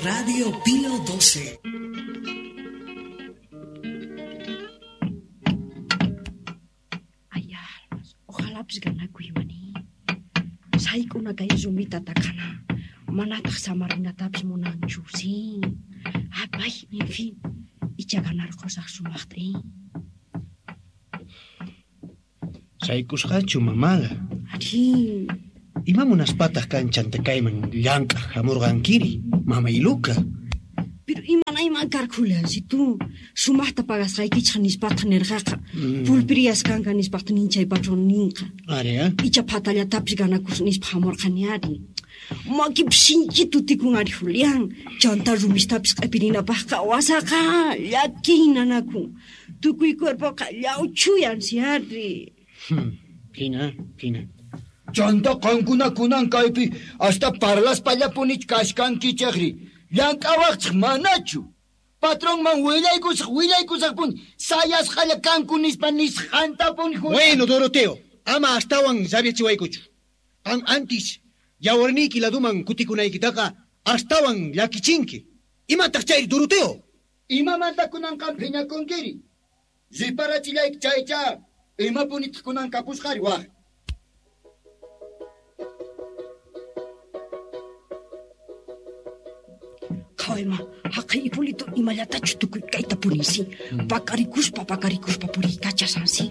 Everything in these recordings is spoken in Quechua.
Radio Pío 12. Ay, almas, ojalá ganakuy mani. Sayk'una kay rumita takana. Manataq samarinatapis munanchu, sí. Apay, en fin. Icha ganarqusaq sumaqta, eh. Saykusqachu mamaqa. Ari. Ima munaspataq kanchanta kayman llank'aq hamurqankiri, mama Iluka? Pero imanayman karqa, si tú sumaqta pagasqaykichaq nispataq nirqaqa. Pulpiriyas kanqa nispataq nin chay patrón ninqa. Ari, ah? Icha phatallatapis ganakus nispa hamurqani ari. Makipis sinchi tutikun ari, Julián. Chanta rumistapis q'ipirinapaqqa wasaqa llakiy nanakun. Tukuy cuerpoqa llawchuyan si ari. Hina, hina. Chanta qankuna kunan kaypi hasta parlaspallapunichu kashkankichaqri. Llank'awaqchik manachu. Patronman willaykusaq willaykusaqpuni sayasqalla kanku nispa nisqantapuni. Bueno, Doroteo, ama astawan rabiachiwaykuchu. Qan antis yawarniyki laduman kutikunaykitaqa astawan llakichinki. Imataq chayri, Doroteo? Imamanta kunan qam phiñakunkiri? Riparachillayki chaycha. Imapunitaq kunan kapusqari waq. Qhawayma, haqay Hipólito imallatachu tukuy kayta purinsi. Pakarikuspa, pakarikuspa puriykachasansi.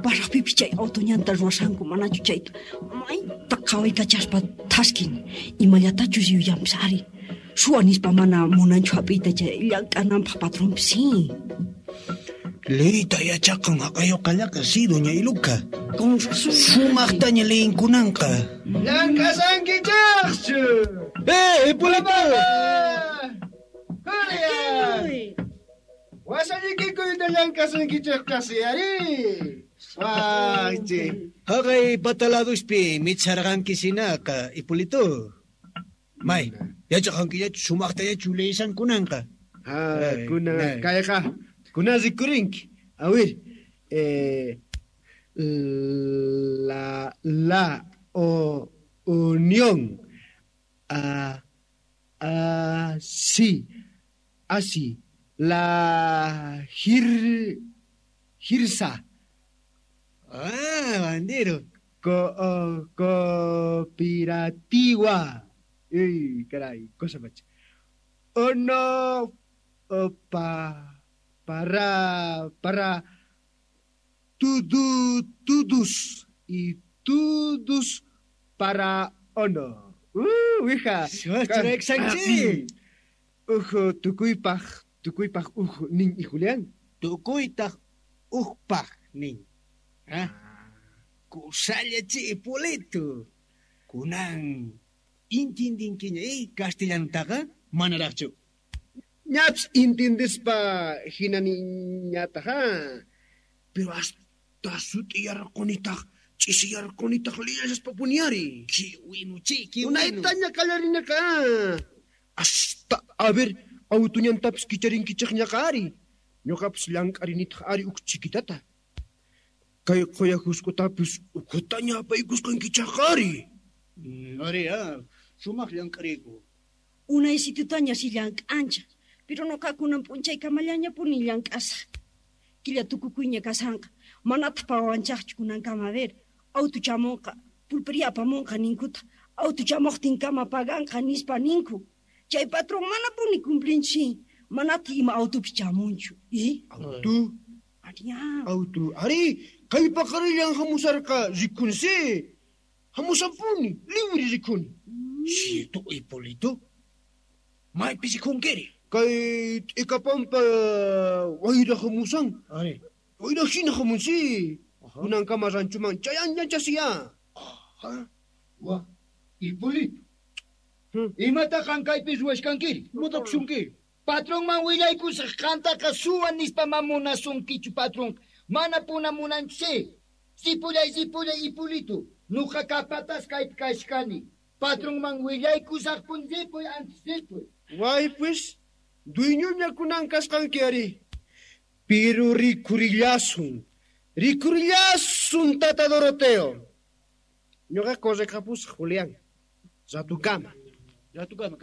Pasaqpipis chay auto ñanta ruwasanku manachu chayta mayta qhawaykachaspa thaskin. Imallatachus yuyanpis ari. Suwa nispa mana munanchu hap'iyta chay llank'ananpaq patronpis, sí. Leyta yachaqan haqayuqallaqa sí, doña Iluka. Con razón. Sumaqtaña leyinkunanqa. Llank'asankichaqchu. ¡Eh, Hipólito! Julián! Wasallikikuyta llank'asankichaq kasi ari. Waqchi. Haqay pataladuspi micharqanki sinaqa, Hipólito. May, yachaqankillachu sumaqtallachu leysankunanqa. Ah, kuna kayqa. Kuna rikurinki. A ver, la o unión a así así la girsa. Ah, bandero. Cooperativa. Uy, caray, cosa macha. Ono pa para todos y todos para ono. Hija. Ujo, tukuypaj, tukuypaj uj nin y Julián. Tukuytaj ujpaj nin. Ah? Kusalla chi Hipólito. Kunan intindinkiña castellanotaqa manaraqchu. Ñaps intindispa hina niñataqa. Pero hasta sut'iyarqunitaq ch'isiyarqunitaq liyashaspa puniari. Kiwinu chi, kiwinu. Unaytaña qallarinaqa. Hasta, a ver, autuñantapis kicharinkichaqñaqa ari. Ñuqapis llank'arinitaq ari uk chiquitata. Kay quya husk'utapis ukhutaña apaykusqankichaqqa ari. Ari, sumaq llank'ariyku. Unay situtaña si llank'anchaq. Pero nuqakunan p'unchaykamallañapuni llank'asaq. Killa tukukuyña kasanqa. Manataq pagawanchaqchu kunankama, a ver. Auto chamunqa, pulpería apamunqa ninkuta. Auto chamuqtinkama paganqa nispa ninku. Chay patrón manapuni cumplinchi. Manataq ima autopis chamunchu. Auto? Ariya. Auto. Ari, kay paqarillan hamusarqa rikunsi. Hamusanpuni, libre rikuni. Cierto, Hipólito. Maypi rikunkiri. Kay t'ikapampa wayra hamusan. Ari. Wayra hina hamunsi. Kunankama ranchuman chayanñachasiya. Wa, Hipólito. Imataq qan kaypi ruwashkankiri? Imataq shunki? Patronman willaykusaq qantaqa suwa nispa mamunasunkichu patron. Mana puna munanchu. Sipullay, sipullay, Hipólito. Nuqa kapatas kaypi kashkani. Patronman willaykusaqpun sipuy antes sipuy. Way pues, dueñoña kunan kasqanki ari. Pero rikurillasun. Rikurillasun, tata Doroteo. Ñuqa correqapusaq, Julián. Ratukama. Ratukama.